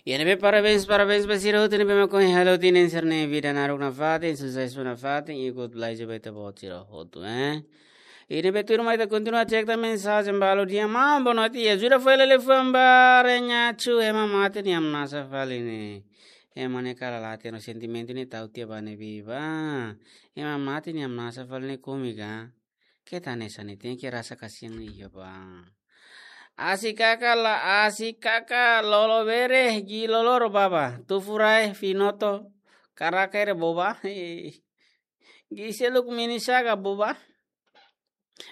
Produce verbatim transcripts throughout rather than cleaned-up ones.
Iha ne'ebé parabéns, parabéns ba sira hotu ne'ebé mak ohin halo tinan sira-nia vida naruk nafatin, susesu nafatin, i God bless ba ita-boot sira hotu, eh. I ne'ebé tuirmai ita kontinua cek tan mensajen balu dehan: Maun, boa noite. Ajuda fali liafuan ba Renhachu, ema mate nia hamnasa fali ne'e. Ema ne'e kala la hatene sentimentu ne'e tau tiha ba ne'ebé ba. Ema mate nia hamnasa fali ne'e kómiku ka? Keta hanesan ne'e, tenke rasa kasihan iha ba. Asi kaka la, asi kaka lolo bere, gi loloro baba. Tufu rae, finoto, karaka ere boba. Gi seluk mini saga boba.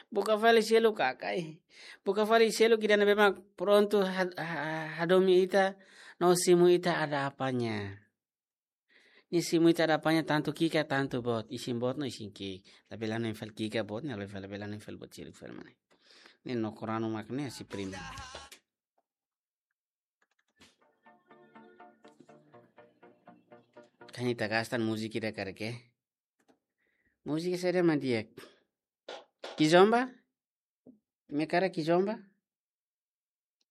Buka fali seluk kakai. Buka fali seluk ida ne'ebé mak prontu had-, ha-, hadomi ita, no simu ita ada apanya. Nia simu ita ada apanya, tantu ki'ik ka tantu boot, isin boot no isin ki'ik. Labele hanoin fali ki'ik ka boot, ne'e labele, labele hanoin fali boot seluk fali mak ne'e. Ne'e no koranu mak ne'e si prima. Kan ita gasta múzika ida karik. Múzika saida mak di'ak? Kizomba? Imi hakarak kizomba?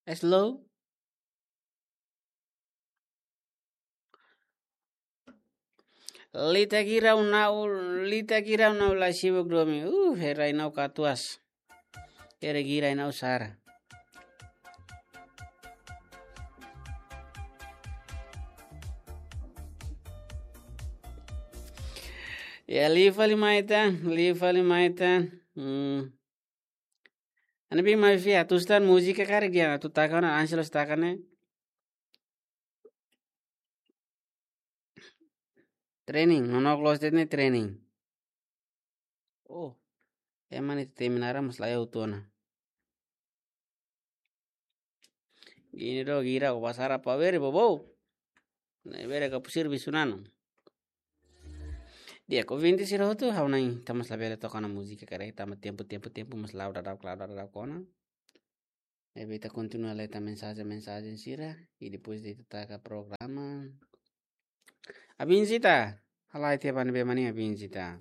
Slow? Lita girau nau, lita girau nau la sibuk domi. Uh, hera inau katuas. Hera gira inau sara. Ya, liu fali mai tan, liu fali mai tan. Hmm. Ana bi mai fia, atu stan múzika karik dehan, atu taka ona, Angelos taka ne'e. Training, nonook loos de'it ne'e training. Oh, ema ne'e temi naran mas laiha hotu ona. Gini do, gira, o basara pa bere, bobo. Ne'e bere ka pusir bisunano. Di'ak, ouvinte sira hotu, ha'u na'in, ita mós labele toka ona múzika karik, tanba tempu, tempu, tempu mós la'o daudauk, la'o daudauk ona. Ne'ebé ita kontinua lee tan mensajen, mensajen sira, i depois de ita taka programa. Abin sita, halai tiha ba ne'ebé mak ne'e abin sita.